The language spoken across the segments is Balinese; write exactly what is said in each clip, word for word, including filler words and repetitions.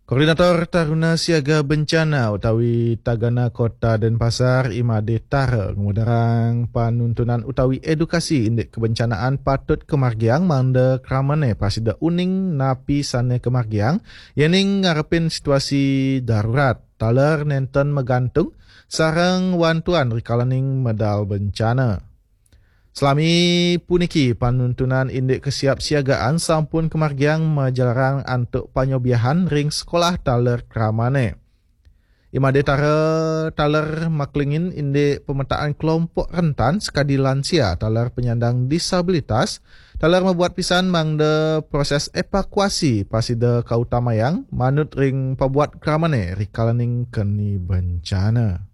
Koordinator Taruna Siaga Bencana utawi Tagana Kota Denpasar, Imade Tara, ngudarang panuntunan utawi edukasi indik kebencanaan patut kemargiang mangda kramane prasida uning napi sane kemargiang, yening ngarepin situasi darurat, taler nenten magantung, sareng wantuan rikalaning medal bencana. Selami puniki, panuntunan indik kesiapsiagaan sampun kemargiang majalarang antuk panyobiahan ring sekolah taler kramane. Imade Tara taler maklingin indik pemetaan kelompok rentan sekadi lansia taler penyandang disabilitas, taler mabuat pisan mangda proses evakuasi prasida kautamayang manut ring pabuat kramane rikalaning keni bencana.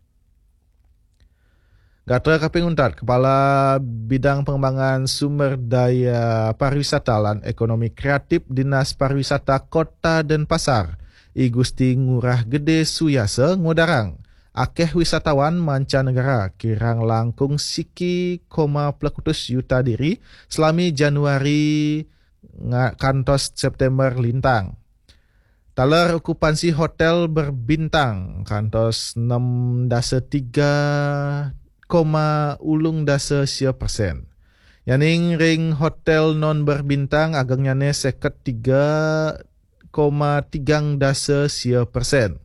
Gatra kaping untat, Kepala Bidang Pengembangan Sumber Daya Pariwisata lan Ekonomi Kreatif Dinas Pariwisata Kota Denpasar, I Gusti Ngurah Gede Suyasa, ngudarang akeh wisatawan mancanegara kirang langkung siki koma plekutus yuta diri selami Januari nga-, kantos September lintang. Taler okupansi hotel berbintang kantos enam dasa tiga koma ulung dasa sia persen. Yaning ring hotel non berbintang agengnyane seket tiga koma tigang dasa sia persen.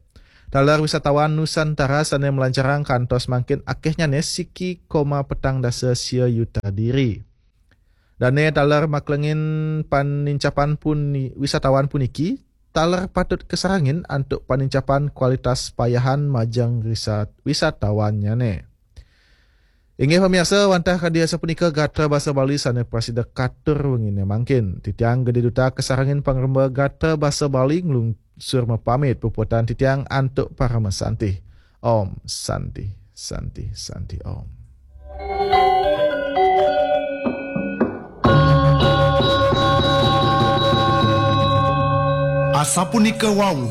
Taler wisatawan Nusantara sane melancarang kantos mangkin akehnyane siki koma petang dasa sia yuta diri. Dane taler maklengin panincapan puni-, wisatawan puniki, taler patut kasarangin antuk panincapan kualitas payahan majeng risat-, wisatawan-nyane. Inggih pamiarsa, wantah kadi asapunika gatra basa Bali sane prasida katur wengine mangkin. Titiang Gede Duta kasarangin pangremba gatra basa Bali nglungsur mapamit, puputan titiang antuk parama santi. Om Santi, Santi, Santi Om. Asapunika wau